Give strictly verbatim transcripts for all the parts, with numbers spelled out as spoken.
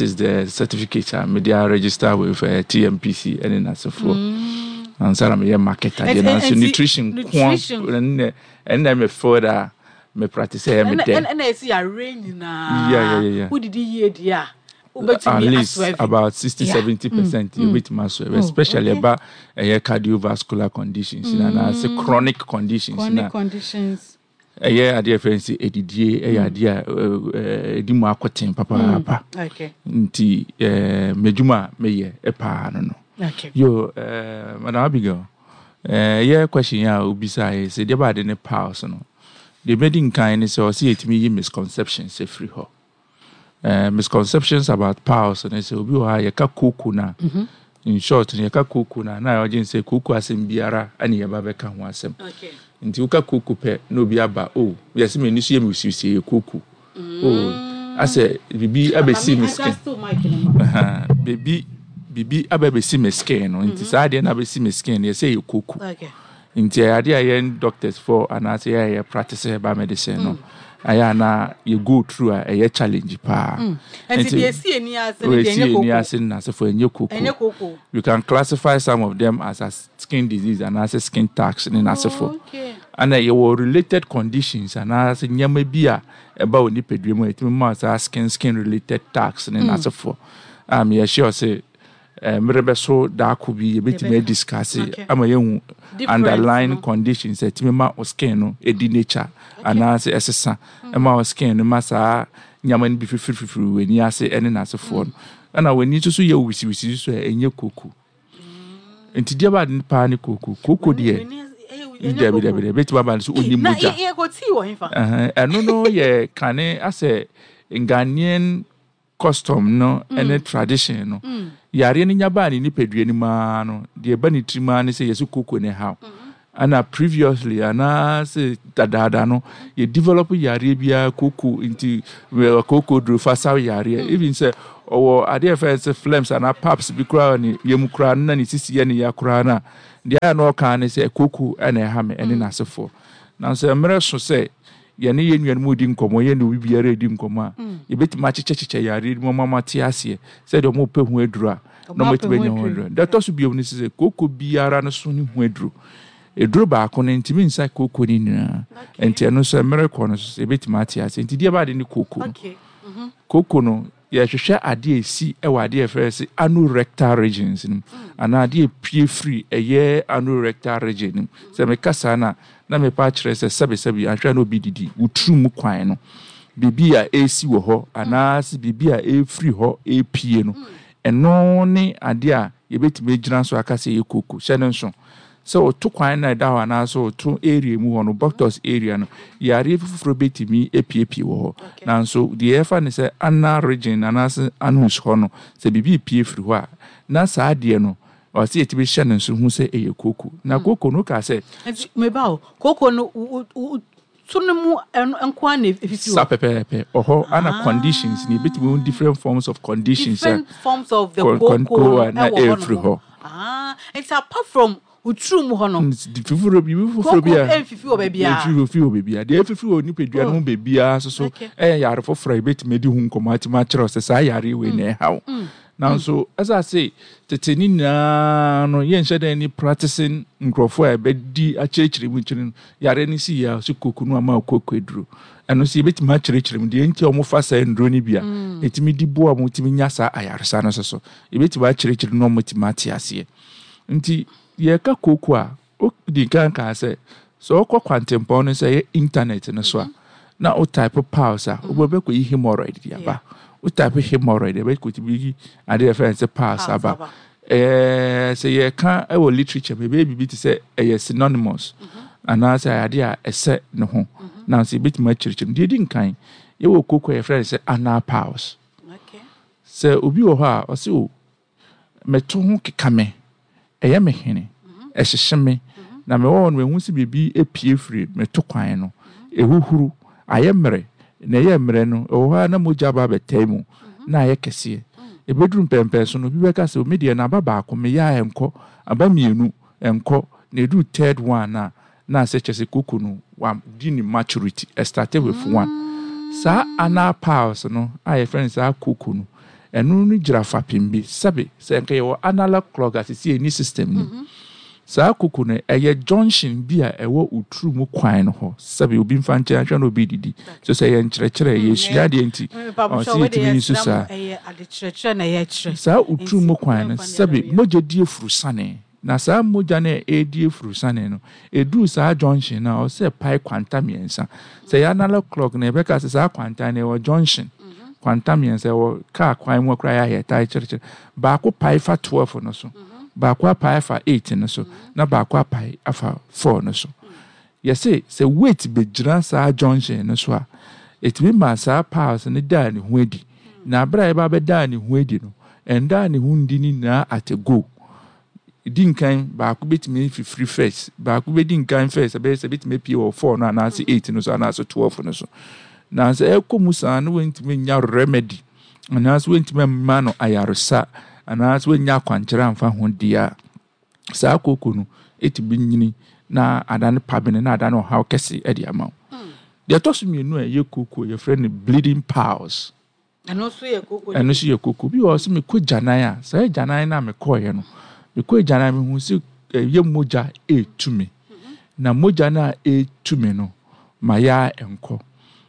Is the certificate a mede a register with uh, T M P C ɛne n'asefoɔ ansa na meyɛ market adeɛ. Nanso nutrition ko ɛnna ɛnna me field a me practice ɛyɛ me dɛ. Ɛnna ɛsi yare nyinaa. Yeah, yeah, yeah. Wodidi yie deɛ a, at least about sixty, seventy percent yɛbɛtumi asɔre, especially ɛba ɛyɛ cardiovascular conditions na anaasɛ chronic conditions. Chronic na conditions. Ɛyɛ adeɛ fɛn sɛ edidie ɛyɛ adeɛ a ɛdi mu akɔten papaapa. Okay. Nti ɛɛ mɛdwuma a mɛyɛ ɛpaa no no. Okay. Yo, ɛɛ Madam Abigail, ɛɛ yɛ question a obisa yɛ sɛ deɛ baade ne piles no, deɛ bɛdi nkan ne sɛ ɔsɛ yɛtumi yi misconceptions efiri hɔ. ɛɛ misconceptions about piles ne sɛ obi wɔ ha, yɛka kooko na, in short no, yɛka kooko na na ɔgye sɛ kooko asɛm biara ɛne yɛba bɛka ho asɛm. Okay. Nti woka kooko pɛ na obi aba o, yɛsɛ m'ani so yɛ me wisiwisi, yɛ kooko o, asɛ biribi abɛsi me skin. Aha, biribi biribi aba abɛsi me skin no, nti saa adeɛ no abɛsi me skin no, yɛsɛ yɛ kooko. Okay. Nti ɛyɛ adeɛ a yɛn doctors for anaasɛ yɛ a yɛ practice herbal medicine no, ɛyɛ ana yɛ go through a ɛyɛ challenge paa. Nti deɛ esi ani ase no deɛ esi ɛnyɛ ani koko. Ase no n'asefo, ɛnyɛ kooko. Ɛnyɛ koko. You can classify some of them as a skin disease anaasɛ skin tags ne n'asefo. Okay. Ana yɛwɔ related conditions anaasɛ nneɛma bi a ɛba wɔ nipadua mu a ɛtumi ma saa skin skin related tags ne n'asefoɔ a meyɛ sure sɛ eh, mmerɛ bɛso daako bi yɛbɛtumi Yɛbɛka. Adiscuss Okay. ama yɛhu Difference underlying no. conditions a ɛtumi ma wo skin no ɛdi nature anaasɛ ɛsesa ɛma wo skin no ma saa nneɛma no bi fifirififiri w'ani ase ɛne n'asefoɔ no. Ɛna w'ani nso so yɛ wisiwisi so a, ɛnyɛ kooko. Nti deɛ baade paa ne kooko, kooko deɛ dabi dabi dabi, bɛtumi aba no so ɔni Na mogya. yɛ kɔ tii wɔ hefa? Ɛhɛn, ɛno no yɛ kane asɛ Ghanaian custom no ɛne tradition no. Yareɛ no nya baa ne nipadua no mu ara no, deɛ ɛba ne tirim ara ne sɛ yɛsɛ kooko ne haw. Ana previously anaasɛ dadaada no, yɛ develop yareɛ biara kooko, nti wɛ- kooko duro fa saw yareɛ. Even sɛ ɔwɔ adeɛ fɛn sɛ phlegms anaa paps bi koraa wɔ ne yam koraa no, na ne sisi yɛ ne ya koraa no a, deɛ a na ɔka ne sɛ kooko ɛna ɛha me ɛne n'asefoɔ. Nanso mmerɛ so sɛ yɛne yɛn nuanom di nkɔmmɔ, yɛne obi biara di nkɔmmɔ a, yɛbɛtumi akyekyɛkyekyɛ yareɛ no mu ama ate aseɛ sɛdeɛ ɔmo pɛ ho aduro a na Ɔmo ɔmo apɛ atumi ho anya ho aduro. aduro. Deɛ ɛtɔ so bio no sɛ kooko biara no so ne ho aduro, eduro baako no ntumi nsa kooko no nyinaa. Nti ɛno nso mmerɛ kɔ no so sɛ yɛbɛtumi ate aseɛ. Nti deɛ baade ne kooko no, Okay. kooko no, yɛhwehwɛ adeɛ a ɛsi ɛwɔ adeɛ a yɛfrɛ sɛ anorectal regions no mu anaa adeɛ a epie firi ɛyɛ anorectal region no mu. Sɛ meka saa na na mepa akyerɛ sɛ sɛbesɛbe ahwɛ na obi didi woturu mu kwan no, biribi a ɛresi wɔ hɔ anaasɛ biribi a ɛrefiri hɔ ɛrepie no, ɛno ne adeɛ a yɛbɛtumi agyina so aka sɛ ɛyɛ kooko. Hyɛ no nso sɛ ɔto kwan na ɛda hɔ anaasɛ ɔto area mu hɔ no, buttocks area no, yareɛ foforɔ bɛtumi apiepie wɔ hɔ. Nanso deɛ yɛfa ne sɛ anal region anaasɛ anus hɔ no, sɛ biribi pie firi hɔ a, na saa adeɛ no ɔsɛ yɛtumi hyɛ no nso hu sɛ ɛyɛ kooko. Na kooko no ka sɛ Nti meba o, kooko no wo- wo- wo- to no mu ɛno nko ara na efifi Saa hɔ? pɛpɛɛpɛ. Ɔhɔ ana conditions ne yɛbɛtumi hu different forms of conditions a Different forms of the Con- con- kooko a na no ɛwɔ hɔ ɛfiri nom. hɔ. Ah, nti apart from woturu mu hɔ no, foforɔ biribi foforɔ bi a kooko ɛmfifi wɔ baabiara? Ɛmfifi wɔ baabiara. Deɛ ɛfifi wɔ nipadua no ho baabiara nso so Okay. ɛyɛ yare foforɔ a yɛbɛtumi adi ho nkɔmmɔ atumi akyerɛ wo sɛ saa yare wei na ɛha wo. Nanso ɛsɛ ase tete ne nyinaa no, yɛnhyɛ dɛn ne practicing nkurɔfoɔ a ɛbɛdi akyerɛkyerɛ mu kyerɛ no yare no si yɛ a so kooko no ama wo kooko aduro. Ɛno nso yɛbɛtumi akyerɛkyerɛ mu deɛ nti a wɔfa saa nnuro no bi a ɛtumi di boa ma wɔtumi nya saa ayaresa no nso so, yɛbɛtumi akyerɛkyerɛ no na wɔtumi ate aseɛ. Nti yɛka kooko a, wodi kan kaa sɛ sɛ wokɔ kwantempɔn no sɛ ɛyɛ internet no so a, na wo type piles a, wobɛkɔyi hemorrhoid de aba. Wo type hemorrhoid, ɛbɛkɔtumi yi adeɛ yɛfrɛ no sɛ piles Piles aba. aba. Ɛɛ, sɛ yɛka ɛwɔ literature mu, ɛbɛyɛ biribi te sɛ ɛyɛ synonymous anaasɛ ɛyɛ adeɛ a ɛsɛ ne ho. Nanso yɛbɛtumi akyerɛkyerɛ mu. Deɛ ɛdi nkan, yɛwɔ kooko a yɛfrɛ no sɛ anal piles. Okay. Sɛ obi wɔ hɔ a ɔsɛ o meto ho keka me, ɛyɛ me hene, ɛhyehye me, na mewɔ hɔ no mehu sɛ biribi apue firi meto kwan no, ɛhuhuru ayɛ mmerɛ, na ɛyɛ mmerɛ no ɛwɔ hɔ a na mogya aba abɛtae mu na ayɛ kɛseɛ. Ɛbɛduru mpɛmpɛn so no, obi bɛka sɛ me deɛ no aba baako meyɛ a ɛnkɔ, aba mmienu ɛnkɔ, na ɛduru third one a, na asɛ kyerɛ sɛ koko no wadi ne maturity. Ɛstarte with one. Saa anal piles no a yɛfrɛ no saa koko no, Ɛno no gyina fapem bi. Sɛbe sɛ nka yɛwɔ analog clock a sisi ɛni system no mu. Saa koko no, ɛyɛ junction bi a ɛwɔ oturu mu kwan no hɔ. Sɛbe, obi mfa nkyɛn ahwɛ na obi didi so sɛ yɛ nkyerɛkyerɛ, yɛsua adeɛ nti ɔsɛ yɛtumi yi so saa. Ɛyɛ adekyerɛkyerɛ na yɛkyerɛ. Saa oturu mu kwan no, sɛbe, mogya di efuru sane, na saa mogya no a ɛredi efuru sane no, ɛduru saa junction no a, ɔsɛ pae kwanta mmiɛnsa. Sɛ yɛ analog clock no, yɛbɛka sɛ saa kwanta no ɛwɔ junction kwanta mmiɛnsa, ɛwɔ kaa kwan mu koraa yɛ ayɛ kyerɛkyerɛ. Baako pae fa twelve no so, baako apae afa eight no so, na baako apae afa four no so. Yɛsɛ sɛ weight bɛgyina saa junction no so a, ɛtumi ma saa piles no daa ne ho adi. Na abere a yɛba bɛdaa ne ho adi no, ɛndaa ne ho ndi ne nyinaa at a go. Di nkan, baako bɛtumi fifiri first, baako bɛdi nkan first, ɛbɛyɛ sɛ bɛtumi apue wɔ four no anaasɛ eight no so anaasɛ twelve no so. Na sɛ ɛkɔ mu saa no, wɔntumi nya remedy anaasɛ wɔntumi mma no ayaresa anaasɛ wɔnya akwankyerɛ amfa ho deɛ a, saa koko no ɛtumi nyini na adane pabene na adane ɔhaw kɛse ɛde ama wo. Deɛ ɛtɔ so mmienu a ɛyɛ koko, yɛfrɛ no bleeding piles. Ɛno nso yɛ koko? Ɛno nso yɛ koko bi wɔ sɛ mekɔ gyanan a, saa gyanan no a mekɔɔyɛ no, mekɔ gyanan, mehu sɛ ɛyɛ mogya ɛɛtu me, na mogya no a ɛɛtu me no ma yɛ nkɔ.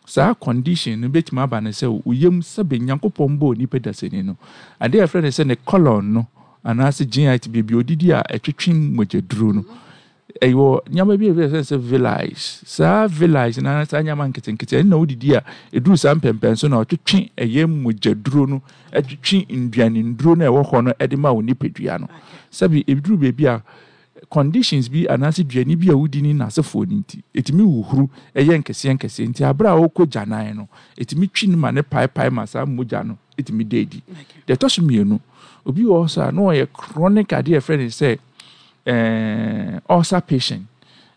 Saa condition no bɛtumi aba no sɛ oyam, sɛbe, Nyankopɔn bɔɔ nipa dasani no, adeɛ a yɛfrɛ no sɛ ne colon no anaasɛ G I T, baabi odidi a ɛtwetwe mogyaduro no, ɛwɔ nneɛma bi a yɛfrɛ sɛ villi. Saa villi na saa nneɛma nketenkete ɛno na wodidi a, ɛduru saa mpɛmpɛn so na ɔtwetwe ɛyɛ mogyaduro no, ɛtwetwe nduane nduro no a ɛwɔ hɔ no ɛde ma wo nipadua no. Sɛbi, ɛduru baabi a conditions bi anaasɛ duane bi a wodi ne n'asefoɔ no nti, ɛtumi huhuru ɛyɛ nkɛseɛ nkɛseɛ nti, abere a wokɔ gyanan no, ɛtumi twi no ma ne paepae ma saa mogya no ɛtumi da adi. Deɛ ɛtɔ so mmienu, obi wɔ hɔ so a na ɔyɛ chronic adeɛ a yɛfrɛ no sɛ ɛɛ ulcer patient,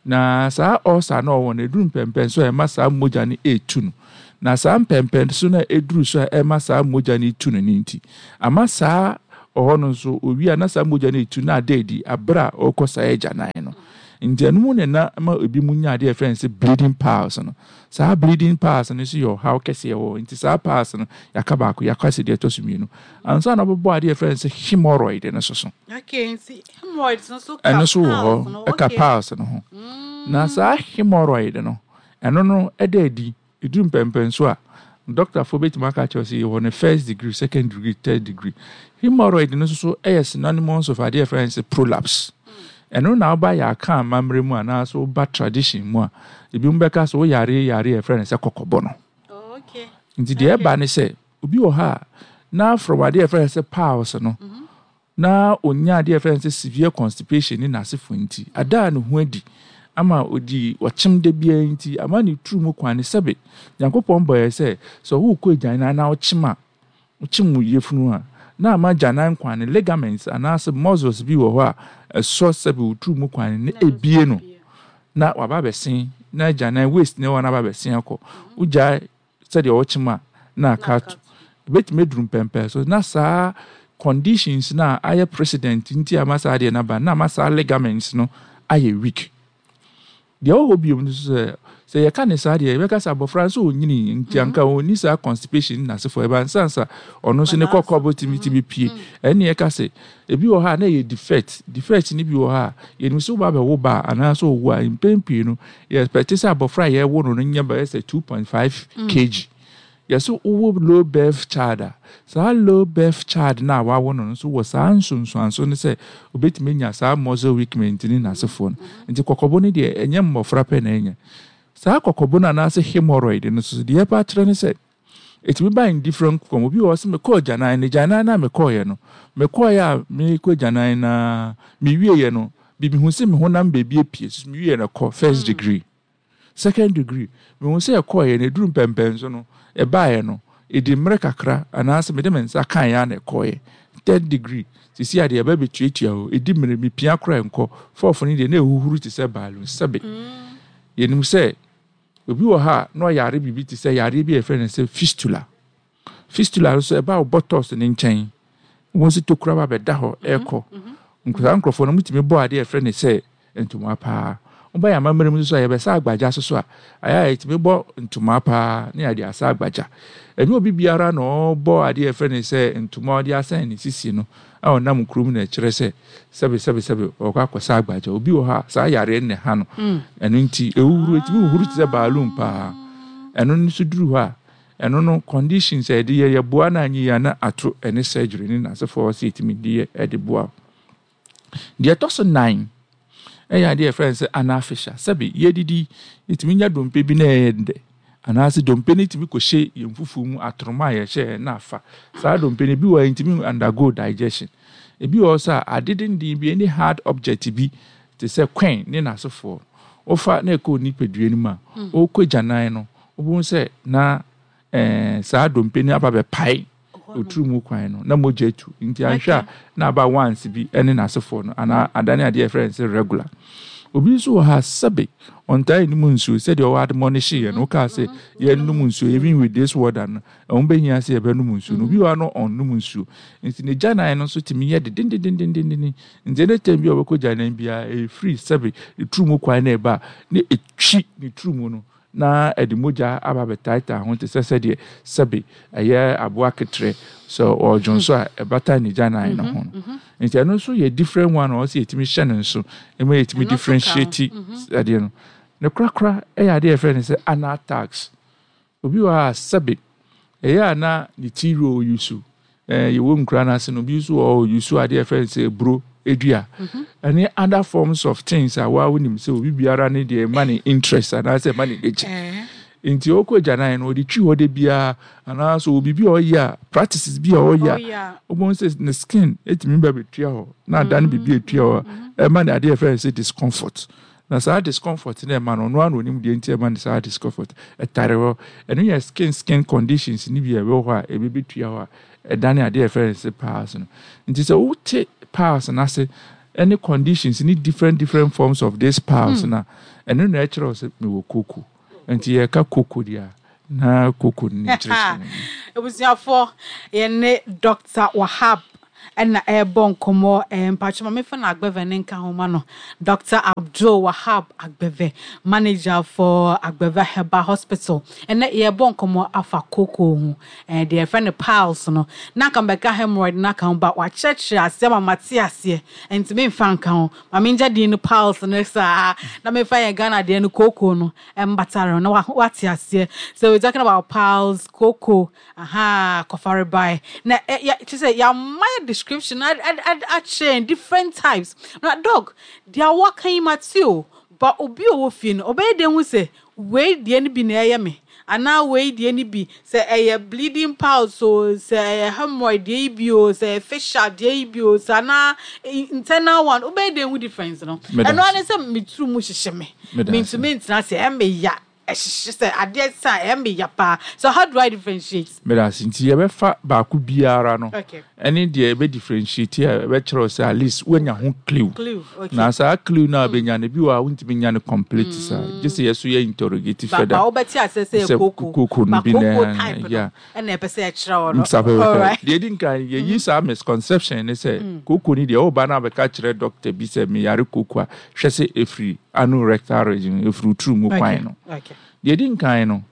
na saa ulcer no ɔwɔ no, ɛduru mpɛmpɛn so a ɛma saa mogya no ɛretu no. Na saa mpɛmpɛn so no a ɛduru so a ɛma saa mogya no etu no ne nti, ama saa ɔhɔ no nso owie a, na saa mogya no etu na ada adi abere a ɔrekɔ saa agyanan no. Nti ɛno mu na na ma ebi mu nya adeɛ a yɛfrɛ no sɛ bleeding piles no. Saa bleeding piles no nso yɛ ɔhaw kɛseɛ wɔ hɔ. Nti saa piles no, yɛaka baako, yɛaka sɛ deɛ ɛtɔ so mmienu ansa na ɔbɛbɔ adeɛ a yɛfrɛ no sɛ hemorrhoid no so so Okay, nti hemorrhoids no nso ka Ɛno nso wɔ piles no? hɔ, ɛka okay. piles no ho. Na saa hemorrhoid no, ɛno no ɛda adi, ɛduru mpɛmpɛn so a, dɔktafoɔ bɛtumi aka kyerɛ sɛ yɛwɔ no first degree, second degree, third degree. Hemorrhoid no nso so ɛyɛ synonymous of adeɛ a yɛfrɛ no sɛ prolapse. Ɛno na woba yɛ aka amammerɛ mu anaasɛ woba tradition mu a, ebi mu bɛka sɛ woyare yare a yɛfrɛ no sɛ kɔkɔbɔ no. Oh, okay. Nti deɛ ɛba ne sɛ obi wɔ hɔ a na from adeɛ a yɛfrɛ no sɛ piles no, na onya adeɛ a yɛfrɛ no sɛ severe constipation ne n'asefo nti ada a ne ho adi ama odi ɔkyem da biara nti ama ne turu mu kwan ne. Sɛbe, Nyankopɔn bɔ yɛ sɛ sɛ wokɔ agyanan na wokyem a, wokyem wo yafunu a, na ama gyanan kwan ne ligaments anaasɛ muscles bi wɔ hɔ a ɛsɔ, sɛbe, wo turu mu kwan ne ebie no na waba abɛsen na agyanan waste ne wɔ no aba abɛsen akɔ. Wogyae sɛdeɛ wɔkyem a, na aka ato, ebɛtumi aduru mpɛmpɛn so na saa conditions na ayɛ precedent nti ama saa adeɛ no aba na ama saa ligaments no ayɛ weak. Deɛ ɛwɔ hɔ biom no nso, sɛ sɛ yɛka ne saa deɛ, yɛbɛka sɛ abɔfra nso ɔnyini nti anka ɔnni saa constipation ne n'asefoɔ ɛba nsansa ɔno nso ne kɔkɔbɔ tumi tumi pie. Ɛne yɛka sɛ ebi wɔ hɔ a na ɛyɛ defect. Defect ne bi wɔ hɔ a yɛnim sɛ woba abɛwo ba a anaasɛ ɔwo a, mpɛn pii no yɛpɛte sɛ abɔfra a yɛwo no no nyɛ bɛyɛ sɛ two point five kilogram. Yɛsɛ wowɔ low birth child a, saa low birth child no a wawo no no nso wɔ saa nsonsuanso no sɛ obɛtumi anya saa muscle weakness ne n'asefoɔ no. Nti kɔkɔbɔ no deɛ, ɛnyɛ mmɔfra pɛ na ɛnya saa kɔkɔbɔ no anaasɛ hemorrhoid no nso. Deɛ ɛpa akyerɛ ne sɛ ɛtumi ba in different form. Obi wɔ hɔ sɛ mekɔɔ gyanan no, gyanan no a mekɔɔyɛ no, mekɔɔyɛ a mekɔ gyanan na mewieɛ no, bibi hu sɛ me honam baabi apue so. Mewieɛ no kɔ first degree, second degree, mehu sɛ ɛkɔɔyɛ no, ɛduru mpɛmpɛn so no, ɛbaeɛ no, ɛdi mmerɛ kakra anaasɛ mede me nsa kaeɛ a na ɛkɔɔyɛ. Third degree, sisi adeɛ ɛbɛ bɛtuatua hɔ, ɛdi mmerɛ, mepia koraa nkɔ. Fourth no deɛ, na ɛhuhuru te sɛ balloon. Sɛbe, yɛnim sɛ obi wɔ ha a na ɔyare biribi te sɛ yareɛ bi a yɛfrɛ no sɛ fistula. Fistula nso ɛba wo buttocks ne nkyɛn, wɔn nso tokura ba bɛda hɔ ɛrekɔ. Saa nkurɔfoɔ no mutumi bɔ adeɛ a yɛfrɛ no sɛ ntoma paa. Woba yɛ amammerɛ mu nso a, yɛbɛsa agbagya so so a, ayɛ a yɛtumi bɔ ntoma paa na yɛde asa agbagya. Ɛnyɛ obi biara na ɔbɔ adeɛ a yɛfrɛ no sɛ ntoma a ɔde asɛn ne sisi no a ɔnam kurom na ɛkyerɛ sɛ sɛbe sɛbe sɛbe ɔkɔ akɔsa agbagya. Obi wɔ hɔ a, saa yareɛ no na ɛha no. Ɛno nti ɛhuhuro, ɛtumi huhuro te sɛ balloon paa. Ɛno nso duru hɔ a, ɛno no conditions a yɛde yɛ, yɛboa no anyɛ yie a, na ato ɛne surgery ne n'asefoɔ sɛ yɛtumi de yɛ ɛde boa. Deɛ ɛtɔ so nnan ɛyɛ adeɛ a yɛfrɛ no sɛ anal fissure. Sɛbe yɛdidi, yɛtumi nya dompe bi na ɛyɛ dɛ, anaasɛ dompe no tumi kɔhyɛ yɛn fufuo mu, atoroma a yɛhyɛ na afa. Saa dompe no, ebi wɔ hɔ a ɛntumi undergo digestion. Ebi wɔ hɔ sɛ a ade denden bi, any hard object bi te sɛ kwan ne n'asefoɔ, wofa na ɛkɔ nipadua no mu a, wokɔ gyanan no, wobɛhu sɛ na ɛɛ saa dompe no aba bɛpae oturu mu kwan no na mogya atu. Nti anhwɛ a, na aba once bi ne n'asefoɔ no, anaa adane adeɛ a yɛfrɛ no sɛ regular. Obi nso wɔ ha, sɛbe ɔntaa nnom nsuo sɛdeɛ ɔwɔ admonish yɛ no. Wokaa sɛ yɛnnom nsuo, even with this water no, ɛho bɛhia sɛ yɛbɛnom nsuo no. Obi wɔ ha no, ɔnnom nsuo, nti ne gyanan no nso tumi yɛ dedendendendenden. Nti ɛne time bi a ɔbɛkɔ gyanan biara, ɛfiri sɛbe ne turu mu kwan no ɛba a, na ɛtwi ne turu mu no na ɛde mogya aba abɛtaataa ho te sɛ sɛdeɛ sɛbe ɛyɛ aboa keterɛ sɛ ɔredwo nso a ɛbata ne gyanan no ho no. Nti ɛno nso yɛ different one a ɔsɛ yɛtumi hyɛ no nso ɛma yɛtumi differentiate adeɛ no. Ne korakora ɛyɛ adeɛ a yɛfrɛ no sɛ anal tags. Obi wɔ hɔ a, sɛbe ɛyɛ a na ne ti roll use ɛɛ yɛwɔ nkura no ase no, obi nso wɔ hɔ use adeɛ a yɛfrɛ no sɛ eburo edua ɛne other forms of things a waa wonim sɛ obi biara ne deɛ ɛma ne interest anaasɛ ɛma ne gye. Nti ɔkɔ agyanan no, ɔde twi hɔ de biara, anaasɛ obi bi a ɔyɛ a practices bi a ɔyɛ a, wobɛhu sɛ ne skin etumi ba bɛtua hɔ na adane biribi etua hɔ a ɛma ne adeɛ a yɛfrɛ no sɛ discomfort. Na saa discomfort no ɛma no, ɔno ara na onim deɛ nti ɛma no saa discomfort ɛtare hɔ. Ɛno yɛ skin skin conditions ne bi a ɛwɔ hɔ a ebi bɛtua hɔ a ɛdane adeɛ a yɛfrɛ no sɛ piles no. Nti sɛ wote piles no ase ɛne conditions ne different different forms of this piles na ɛno na ɛkyerɛ wo sɛ mewɔ koko. Nti yɛka koko deɛ a, na koko no ne kyerɛkyerɛ mu. Abusuafoɔ, yɛne Doctor Wahab ɛna ɛrebɔ nkɔmmɔ. ɛɛ mpatwɛ ma mefa no Agbeve ne nka ho ma no. Doctor Abdul Wahab Agbeve, manager for Agbeve Herbal Hospital. Ɛnɛ yɛrebɔ nkɔmmɔ afa koko ho, ɛɛ deɛ yɛfrɛ no piles no. Na nka mbɛka hemorrhoid na ka ho ba, wakyerɛkyerɛ aseɛ ma mate aseɛ, nti memfa nka ho. Ma mengya din no piles no saa na memfa yɛn Ghana deɛ no koko no ɛmbatare ho na wate aseɛ. So we're talking about piles, koko, aha, kɔfarebae na ɛ yɛ kyerɛ sɛ yɛama yɛ description akyerɛ different types. Na doc, deɛ waka yi mate o, but obi a ɔwɔ fie no, ɔbɛyɛ dɛn hu sɛ wei deɛ no bi na ɛyɛ me, anaa wei deɛ no bi, sɛ ɛyɛ bleeding piles o, sɛ ɛyɛ hemorrhoid deɛ yi bi o, sɛ ɛyɛ fissure deɛ yi bi o, sɛ anaa internal one, wobɛyɛ dɛn hu difference no? Ɛno ara ne sɛ me turu mu hyehyɛ me, mentumi ntena ase, ɛmɛ ya, ɛhyehyɛ sɛ adeɛ sa, ɛmɛ ya paa. So how do I differentiate? Meda ase. Nti yɛbɛfa baako biara no okay ɛne deɛ ɛbɛ differentiate a ɛbɛkyerɛ wo sɛ at least woanya ho clue. Clue, okay. Na saa clue no a wobɛnya no, bi wɔ a wontumi nya no complete saa, gye sɛ yɛso yɛ interrogate ba further. Ba wobɛte aseɛ sɛ sɛ koko koko no ba bi na koko type no yeah. ɛna ɛpɛ sɛ ɛkyerɛ wɔ no. Saa pɛpɛpɛ. Alright. Deɛ ɛdi nkan, yɛyi saa misconception ne sɛ koko ni deɛ, woba no abɛka kyerɛ doctor bi sɛ meyare koko a, hwɛ sɛ ɛfiri ano rectal region, ɛfiri turu mu kwan no. Okay deɛ ɛdi nkan no,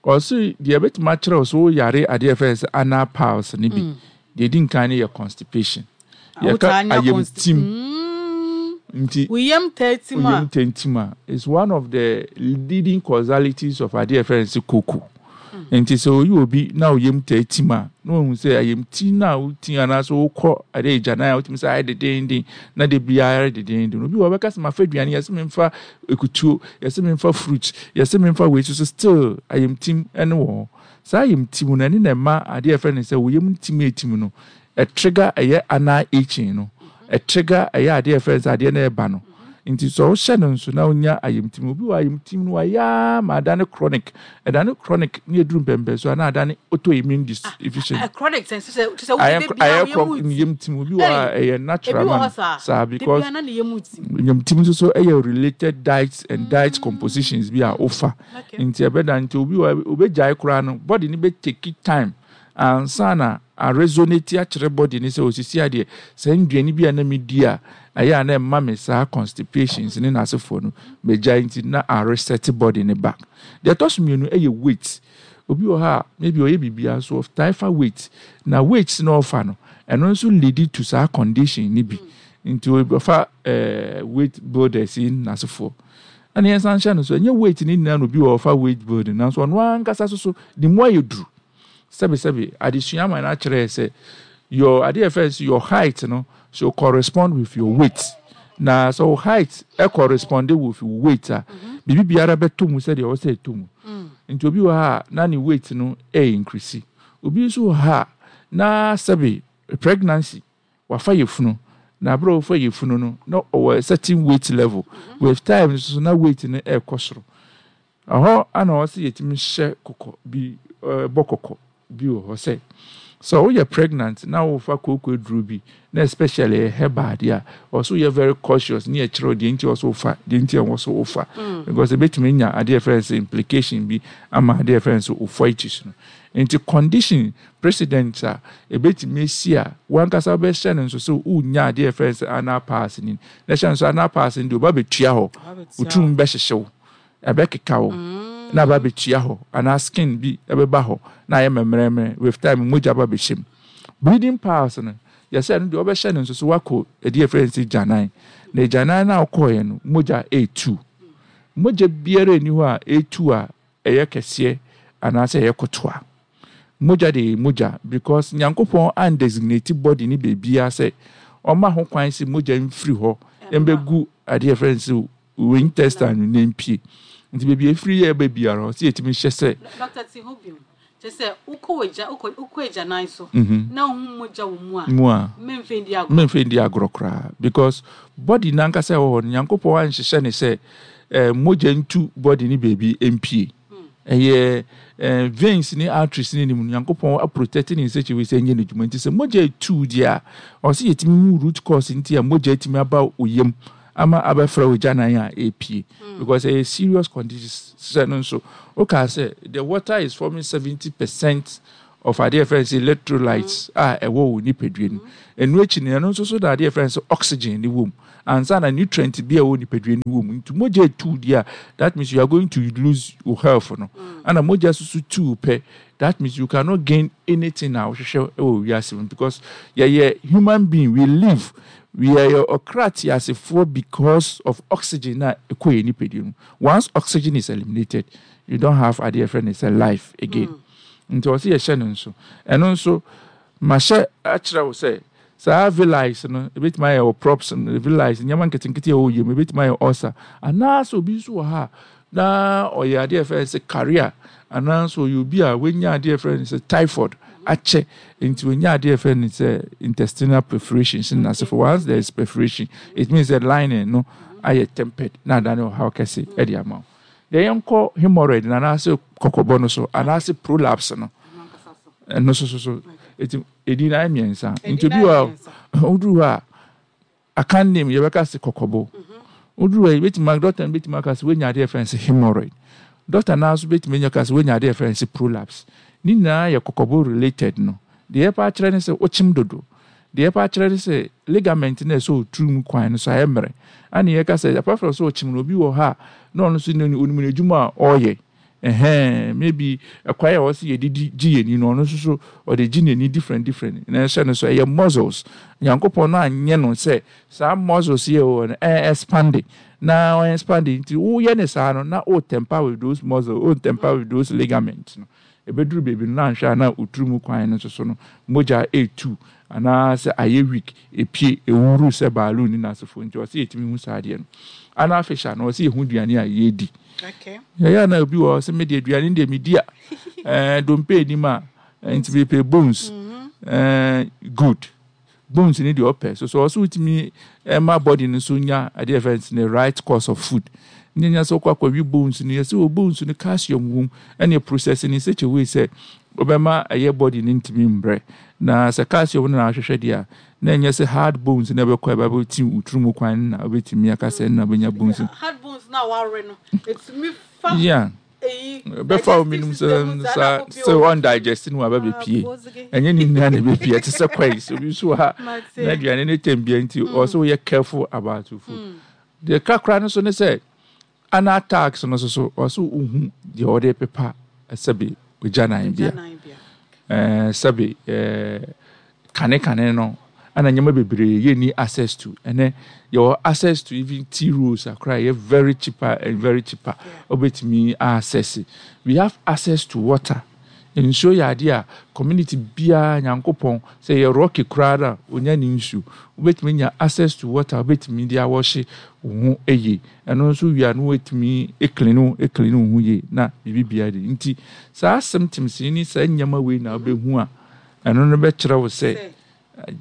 ɔse deɛ ɛbɛtumi akyerɛ wo sɛ woyare adeɛ a yɛfrɛ no sɛ anal piles no bi, deɛ ɛdi nkan no yɛ constipation. Yɛka wotaa nya ayamtim. Mm. Nti woyam taatim a woyam tantim a is one of the leading causalities of adeɛ a yɛfrɛ no sɛ koko. Nti sɛ oyi obi na oyam taatim a, na wahu sɛ ayamti no a woti anaasɛ wokɔ adeɛ agyanan a, wotumi sɛ ayɛ dedenden na de biara ayɛ dedenden. Obi wɔ hɔ, ɔbɛka sɛ mafa aduane, yɛsɛ memfa ekutuo, yɛsɛ memfa fruit, yɛsɛ memfa wei, so still ayamtim ɛne wɔ hɔ. Saa ayamtim no, ɛne na ɛma adeɛ a yɛfrɛ no sɛ woyam ntim etim no, ɛtrigger ɛyɛ anal itching no, ɛtrigger ɛyɛ adeɛ a yɛfrɛ no sɛ adeɛ no ɛba no. Nti sɛ wohyɛ no nso na wonya ayamtim, obi wɔ ayamtim no wayɛ ma adane chronic, ɛdane chronic ne eduru mpɛmpɛ so a, na adane autoimmune deficiency. Ah, chronic sɛ sɛ sɛ ayɛ wode bia ayɛ woyam chronic ti yam tim. Obi wɔ hɔ a ɛyɛ natural ebi wɔ ma hɔ no saa saa de because bia na ne yam ti. Yam tim nso so ɛyɛ related diet and diet compositions bi a wofa. Okay nti ɛbɛda, nti obi wɔ obɛgyae koraa no, body no bɛ take time Ansa na aresonate akyerɛ body ne sɛ osisi adeɛ sɛ nduane bi a na medi a ɛyɛ a na ɛma me saa constipations ne n'asefoɔ no megyae, nti na areset body ne back. Deɛ ɛtɔ so mmienu ɛyɛ weight. Obi wɔ ha a maybe ɔyɛ biribiara so ɔtae fa weight, na weight na ɔfa no, ɛno nso lead to saa condition ne bi. Nti ɔfa ɛɛ weight builders yi n'asefoɔ, ɛna yɛn san hyɛ no so, ɛnyɛ weight ne nyinaa na obi wɔ ɔfa weight building, nanso ɔno ankasa so so ne mu ayɛ duru. Sɛbisɛbi, adesua ama no akyerɛ sɛ your adeɛ yɛ fɛ your height no so correspond with your weight, na sɛ wo height ɛ correspond with your weight a, biribi biara bɛtɔ mu sɛdeɛ ɔwɔ sɛ ɛtɔ mu. Nti obi wɔ ha a na ne weight no ɛ increase, obi nso wɔ ha a na sɛbi pregnancy wafa yɛ funu, na abere a wɔfa yɛ funu no na ɔwɔ certain weight level, with time nso na weight no ɛrekɔ soro. Ɛhɔ ana ɔwɔ sɛ yɛtumi hyɛ kɔkɔ bi, ɛɛ bɔ kɔkɔ bi wɔ hɔ sɛ sɛ woyɛ pregnant na wofa kooko aduro bi, na especially ɛyɛ herbal adeɛ a, ɔso yɛ very cautious ne yɛkyerɛw deɛ nti ɔso wofa, deɛ nti ɛwɔ so wofa, because ebɛtumi nya adeɛ yɛfrɛ no sɛ implication bi ama adeɛ yɛfrɛ no sɛ ofoitis no. Nti condition precedent a ebɛtumi esi a wankasa bɛhyɛ no nso sɛ wonya adeɛ yɛfrɛ no sɛ anal piles ni, na hyɛ no nso anal piles ni deɛ, ɔba bɛtua hɔ, otum bɛhyehyɛw, ɛbɛkeka wo na aba bɛtua hɔ, anaa skin bi ɛbɛba hɔ na ayɛ mɛmrɛmrɛ. With time mogya ba bɛhyɛ mu. Bleeding piles no, yɛsɛ no deɛ ɔbɛhyɛ no nso so, wakɔ ɛdeɛ yɛfrɛ no sɛ gyanan, na gyanan no a wokɔɔɛ no, mogya ɛɛtu. Mogya biara nni hɔ a ɛɛtu a ɛyɛ kɛseɛ anaasɛ ɛyɛ kotoa. Mogya de yɛ mogya, because Nyankopɔn andesignate body ne beebiara sɛ ɔma ho kwan sɛ mogya mfiri hɔ mbɛgu adeɛ yɛfrɛ no sɛ wo intestine no na mpie. Nti beebi efiri yɛ ɛbɛ biara, ɔsɛ yɛtumi hyɛ sɛ Doctor, ti ho bio kyɛ sɛ wokɔ wagya wokɔ wokɔ agyanan so Mhm. na wohu mogya wɔ mu a, mu a, mmɛmfɛ ndi agorɔ. Mmɛmfɛ ndi agorɔ koraa, because body nankasa ɛwɔ hɔ no, Nyankopɔn anhyehyɛ ne sɛ ɛɛ mogya ntu body ne beebi mpie. Ɛyɛ ɛɛ veins ne arteries ne nim no, Nyankopɔn aprotect ne in such a way sɛ ɛnyɛ n'adwuma. Nti sɛ mogya etu deɛ a, ɔsɛ yɛtumi hu root cause nti a mogya etumi aba oyam ama abɛfrɛ wo gyanan a epie, because ɛyɛ serious condition. Sɛ no nso wokaa sɛ the water is forming seventy percent of adeɛ yɛfrɛ no sɛ electrolytes a ɛwɔ wɔ nipadua no. Ɛno akyi no, ɛno nso so da adeɛ yɛfrɛ no sɛ oxygen ne wɔ mu ansa na nutrient bi a ɛwɔ nipadua no wɔ mu. Nti mogya etu deɛ a, that means you are going to lose your health no. Ana mogya soso tu pɛ, that means you cannot gain anything a wohwehwɛ wɔ wiase mu, because yɛyɛ human being, we live, we are ɔkra teasefoɔ because of oxygen na ɛkɔ yɛ nipadua mu. Once oxygen is eliminated, you don't have adeɛ yɛfrɛ no sɛ life again. Nti ɔsɛ yɛhyɛ no nso. Ɛno nso mahyɛ akyerɛ wo sɛ saa villi no ebɛtumi ayɛ wɔ props no, villi, nneɛma nketenkete a ɛwɔ yam, ebɛtumi ayɛ ulcer, anaasɛ obi nso wɔ ha a na ɔyɛ adeɛ yɛfrɛ no sɛ carrier, anaasɛ ɔyɛ obi a wanya adeɛ yɛfrɛ no sɛ typhoid akyɛ, nti wanya adeɛ yɛfrɛ no sɛ intestinal perforation. Na for once there is perforation, it means that lining no ayɛ tempered na adane ɔhaw kɛse ɛde ama wo. Deɛ yɛnkɔ hemorrhoid no anaasɛ kɔkɔbɔ no so anaasɛ prolapse no, ɛno so so so eti edi na ayɛ mmiɛnsa. Nti obi wɔ a woduru hɔ a, aka name yɛbɛka sɛ kɔkɔbɔ. Woduru hɔ a, yɛbɛtumi, doctor no bɛtumi aka sɛ woanya adeɛ yɛfrɛ no sɛ hemorrhoid. Doctor naa nso bɛtumi anya ka sɛ woanya adeɛ yɛfrɛ no sɛ prolapse. Ne nyinaa yɛ kɔkɔbɔ related no. Deɛ yɛpa akyerɛ ne sɛ wokyem dodo. Deɛ yɛpa akyerɛ ne sɛ ligament no a ɛsɛ oturu mu kwan no so ayɛ mmerɛ. Ana yɛka sɛ apart from sɛ ɔkyem no, obi wɔ ha a na ɔno nso onim n'adwuma a ɔreyɛ, ɛhɛn, maybe ɛkwan a wɔsi yɛde gye yɛn ni no, ɔno nso so ɔde gye n'ani different different, na ɛhyɛ no so ɛyɛ muscles. Nyankopɔn no anyɛ no sɛ saa muscles yɛ wɔ no ɛɛ expand na ɔyɛ expand. Nti woyɛ ne saa no na o tamper with those muscles, o tamper with those ligaments no, ebeduru beebi no na anhwɛ a na oturu mu kwan no nso so no mogya etu anaasɛ ayɛ weak, epie ewuru sɛ balloon ne n'asefo. Nti ɔsɛ yɛtumi hu saa adeɛ no. Anal fissure no, ɔsɛ yɛhu aduane a yɛdi. Okay. Yɛyɛ na obi wɔ hɔ sɛ mede aduane deɛ medi a ɛɛ dompe anim a, nti mepɛ bones, ɛɛ good bones ni deɛ ɔpɛ so so ɔsɛ wotumi ɛma body no so nya adeɛ yɛfrɛ no the right course of food. Ne nya sɛ wokɔ akɔwi bones no, yɛsɛ wɔ bones no calcium wɔ mu, ɛne process no in such a way sɛ wobɛma ɛyɛ body no ntumi mbrɛ. Na sɛ calcium no na ahwehwɛ deɛ a, na ɛnyɛ sɛ hard bones na ɛbɛkɔ ɛbɛbɛ ti woturu mu kwan na wobɛtumi aka sɛ na wobɛnya bones. Hard bones na ware no, etumi fa yeah eyi Bɛfa wo minum sɛ saa sɛ ɔndigest no aba bɛpie. Ɛnyɛ ne nyinaa na ɛbɛpie. Ɛte sɛ kwais, obi nso wɔ ha na aduane ne tɛm bia, nti ɔsɛ woyɛ careful about your food. Deɛ kakra no so ne sɛ ana tags no so so ɔsɛ wohu deɛ ɔde pepa, sɛbe, ogya nan bia, ɛɛ sɛbe, ɛɛ kane kane no ɛna nneɛma bebree yɛnni access to. Ɛnɛ yɛwɔ access to even tea rolls akora, yɛ very cheaper and very cheaper, wobɛtumi access. We have access to water. Nsuo yɛ adeɛ a community biara, Nyankopɔn sɛ yɛ rocky koraa no a onya ne nsuo. Wobɛtumi nya access to water, wobɛtumi de awɔhye wo ho yie. Ɛno nso wia no, wobɛtumi eclean wo eclean wo ho yie na biribi biara de. Nti saa symptoms yi ne saa nneɛma wei na wobɛhu a, ɛno no bɛkyerɛ wo sɛ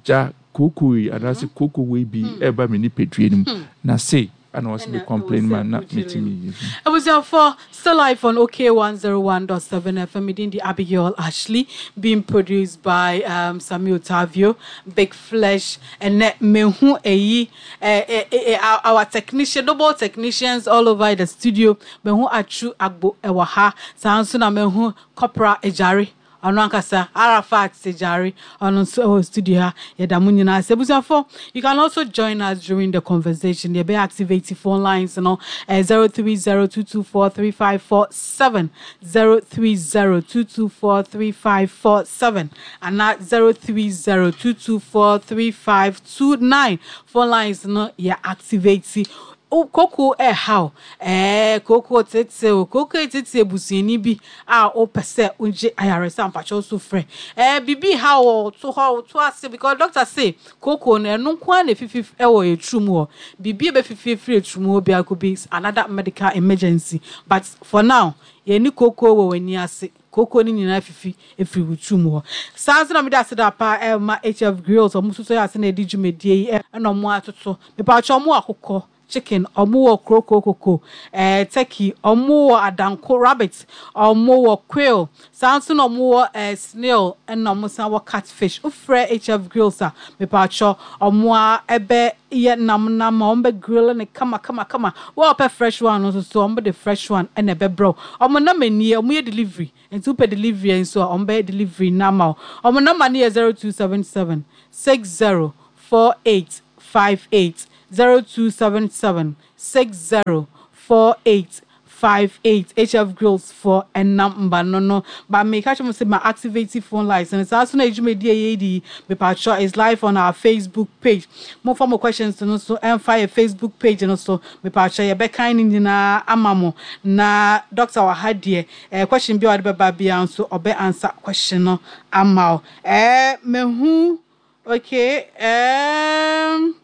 gya kooko yi anaasɛ kooko wei bi ɛreba me nipadua no mu na sei ana wɔsɛ me complain ma na metumi yi. Abusuafo, still live on OK one oh one point seven F M. Me din de Abigail Ashley, being produced by um, Samuel Tavio, Big Flesh, and Mehu Eyi, eh, eh, eh, our, our technician, double technicians all over the studio. Mehu Achu Agbo Ewaha, Sansuna Mehu Copra Ejari. Ɔno ankasa Arafat Sejari, ɔno nso ɛwɔ studio ha. Yɛda mo nyinaa ase. Abusuafo, you can also join us during the conversation. Yɛbɛ activate phone lines no, eh, zero three zero two two four three five four seven, zero three zero two two four three five four seven ana zero three zero two two four three five two nine. Phone lines no yɛ activate. Koko ɛhaw, ɛɛ koko tete o, koko tete ebusuani bi a wopɛ sɛ wogye ayaresa, mpakyɛw so frɛ. ɛɛ bibi ha wɔ to hɔ to ase because doctor say koko no, ɛno nko ara na efifi ɛwɔ eturum hɔ. Bibi ebefifi efiri eturum hɔ biara could be another medical emergency, but for now yɛni koko wɔ w'ani ase. Koko no nyinaa fifi efiri wo turum hɔ. Saa nso na mede ase da pa ɛma H F Grills. Ɔmo nso so yɛ ase na edi dwumadie yi, ɛna ɔmo atoto. Mepakyɛw, ɔmo akokɔ chicken, ɔmo wɔ kroko koko, ɛɛ turkey, ɔmo wɔ adanko rabbit, ɔmo wɔ quail, saa nso na ɔmo wɔ ɛɛ snail, ɛna ɔmo san wɔ catfish. Wofrɛ H F Grills a, mepakyɛw, ɔmo a ɛbɛ yɛ nam nam a ɔmo bɛ grill ne kama kama kama. Wɔn a ɔpɛ fresh one no nso so, ɔmo de fresh one ɛna ɛbɛbrɛw. Ɔmo nam nie, ɔmo yɛ delivery, nti wopɛ delivery nso a, ɔmo bɛyɛ delivery nama o. Ɔmo nama no yɛ zero two seven seven six zero four eight five eight, zero two seven seven six zero four eight five eight. H F Grills for ɛnam mba no no but meka kyerɛ mo sɛ ma activate phone lines no. Saa so na edwumadie yɛ di, mepatwɔ, is live on our Facebook page. Momfa mo questions no so ɛmfa yɛ Facebook page no so. Mepatwɔ, yɛbɛkan ne nyinaa ama mo na doctor wɔ ha deɛ, ɛɛ question bi a ɔde bɛba biara nso, ɔbɛ answer question no ama wo. ɛɛ mehu okay, um,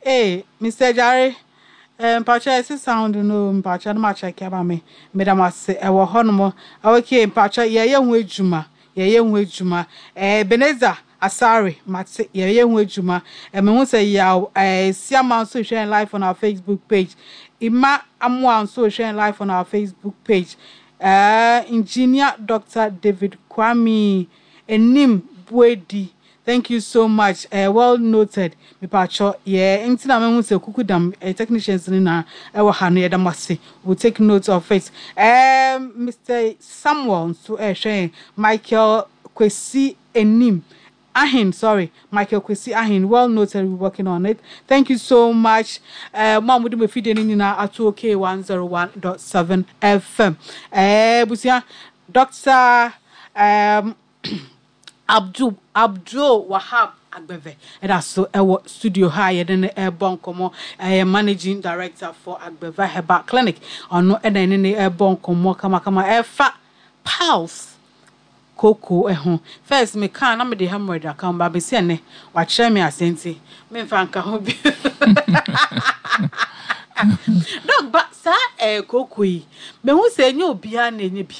hey, Mister Jare, mpakyɛ, ɛsi sound no, mpakyɛ no ma check ama me. Meda mo ase. Ɛwɔ hɔnom. Okay, mpakyɛ, yɛyɛ ho adwuma, yɛyɛ ho adwuma. ɛɛ Ebenezer Asare, mate, yɛyɛ ho adwuma. Ɛmɛ ho sɛ yaw ɛɛ Siama nso hwɛ yɛn live on our Facebook page. Ima Amoa nso hwɛ yɛn live on our Facebook page. ɛɛ Engineer Doctor David Kwame Enim Buedi, thank you so much. uh, well noted. Mipatwɔ, yɛ nti na mehu sɛ kuku dam uh, technicians no na ɛwɔ ha no, yɛda mo ase. We take note of it. um, Mister Samuel nso ɛhwɛ yɛn. Michael Kwesi Enim Ahin, sorry, Michael Kwesi Ahin, well noted, we're working on it. Thank you so much. Uh, Mo a mode mo fidie no nyinaa ato OK one oh one point seven F M. Eh, Busia, Doctor Um, Abdul Abdul Wahab Agbeve ɛda so ɛwɔ studio ha a yɛde no ɛrebɔ nkɔmmɔ. Ɛyɛ managing director for Agbeve Herbal Clinic. Ɔno ɛna ɛne ne ɛrebɔ nkɔmmɔ kamakama ɛfa piles, koko ɛho. First meka na mede hemorrhoid aka ho ba bɛsi ɛnɛ wakyerɛ me ase, nti memfa nka ho bi. Doc, ba saa ɛɛ koko yi, mehu sɛ ɛnyɛ obiara na ɛnyɛ bi.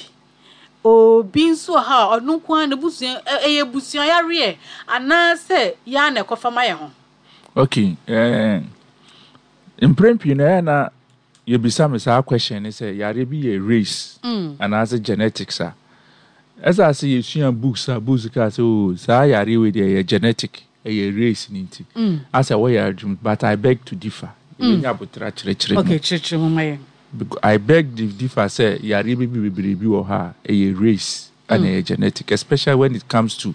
Obi nso wɔ ha a ɔno nko ara ne busua, ɛyɛ busua yareɛ anaasɛ yaa na ɛkɔfa ma yɛ ho? Okay, eh, mprɛn pii no ɛyɛ na yɛbisa me saa question ne sɛ yare bi yɛ race anaasɛ genetics a ɛsɛ sɛ yɛsua books a books ka sɛ o saa yare wei deɛ ɛyɛ genetic, ɛyɛ race ne nti asɛ wɔyɛ adwuma, but I beg to differ. Yɛbɛnya abotra kyerɛkyerɛ mu. Okay, kyerɛkyerɛ mu ma yɛn. I beg to differ sɛ yareɛ bi bebree bi wɔ hɔ a ɛyɛ race ɛna ɛyɛ genetic, especially when it comes to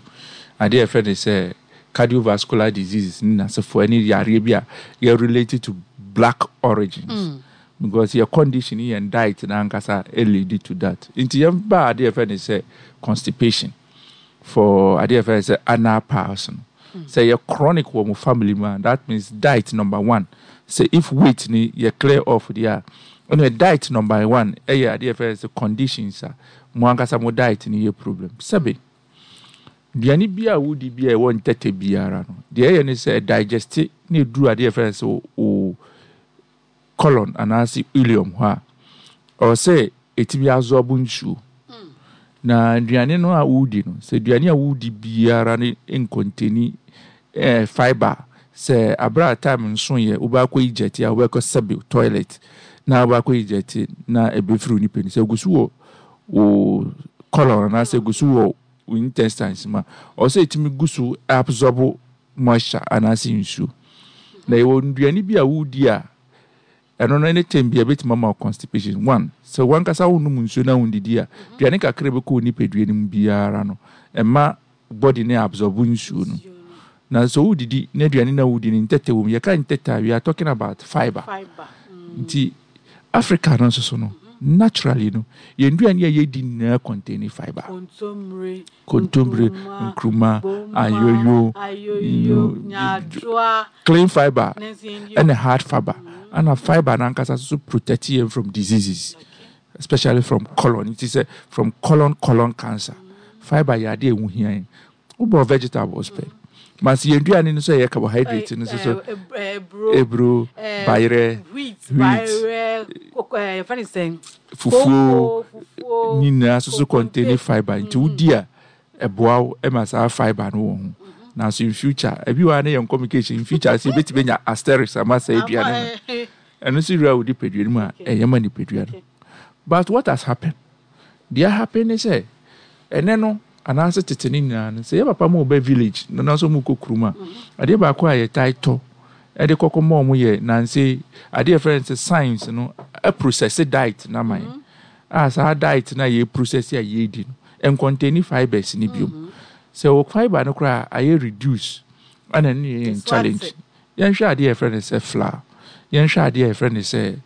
adeɛ a yɛfrɛ no sɛ cardiovascular diseases ne n'asefoɔ ɛne yareɛ bi a yɛ related to black origins. Mm. Because your condition yɛn diet n'ankasa lead to that. Nti yɛn ba adeɛ a yɛfrɛ no sɛ constipation for adeɛ a yɛfrɛ no sɛ anal piles no. Sɛ yɛ chronic wɔ mo family mu a, that means diet number one. Sɛ if weight ni yɛ clear off deɛ a, ɛna diet number one ɛyɛ adeɛ a yɛfrɛ no sɛ conditions a mo ankasa mo diet ni yɛ problem. Sɛbe, aduane bi a wodi bi a ɛwɔ ntɛtɛ biara no, deɛ ɛyɛ ne sɛ digest na eduru adeɛ a yɛfrɛ no sɛ o colon anaasɛ ileum hɔ a, ɔwɔ sɛ ɛtumi absorb nsuo. Na aduane no a wodi no, sɛ aduane a wodi biara ne ncontain eh, fiber, sɛ abere a time nso yɛ wobɛakɔ eject a, wobɛkɔ sɛbe toilet na wobɛakɔ eject na ɛbɛfiri wo nipa ni, sɛ egu so wɔ wo colon anaasɛ egu so wɔ wo intestines mu a, ɔwɔ sɛ ɛtumi gu so absorb moisture anaasɛ nsuo. Na yɛwɔ nnuane bi a wodi a ɛno no anytime bi a ɛbɛtumi ama wo constipation. One, sɛ wankasa wonom nsuo na wondidi a, aduane kakra bɛkɔ wo nipadua no mu biara no, ɛma body no absorb nsuo no. Na sɛ wodidi na aduane no a wodi no ntɛtɛ wɔ mu, yɛka ntɛtɛ a, we are talking about fiber. Fiber. Nti Africa no nso so no, naturally no, yɛn nduane a yɛdi nyinaa contain fiber. Kontomire, kontomire, nkruma, ayoyo, ayoyo, nyaadoa, clean fiber ne nso yɛn ɛna hard fiber. Ɛna fiber n'ankasa nso protect yɛn from diseases, especially from colon. Nti sɛ from colon colon cancer, fiber yɛ adeɛ a ɛho hia yɛn. Wobɔ vegetables pɛ, but sɛ yɛn nduane no nso yɛ carbohydrate no nso so, eburo, eburo, bayerɛ, wheat, wheat, bayerɛ, koko, ɛɛ yɛfrɛ no sɛn? Fufuo, Koko, fufuo, nyinaa nso so contain fiber. Nti wodi a, ɛboa wo ma saa fiber no wɔ ho. Nanso in future, ebi wɔ ha ne yɛn communication, in future sɛ ebɛtumi anya asterisk ama saa aduane no, ɛno nso wura wo nipadua no mu a, ɛyɛ ma nipadua no. But what has happened, deɛ happen ne sɛ ɛnɛ no anaasɛ tete ne nyinaa no, sɛ yɛ papa ma ɔbɛ village na nanso ɔmo kɔ kurom a, adeɛ baako a yɛtae tɔ ɛde kɔkɔ ma ɔmo yɛ nanse adeɛ yɛfrɛ no sɛ science no ɛprocess diet na ma yɛn a, saa diet na yɛ process a yɛdi no ɛncontain fibers ne biom. Sɛ wɔ fiber no koraa ayɛ reduce, ɛna ne yɛ yɛn challenge. Yɛnhwɛ adeɛ a yɛfrɛ no sɛ flour, yɛnhwɛ adeɛ a yɛfrɛ no sɛ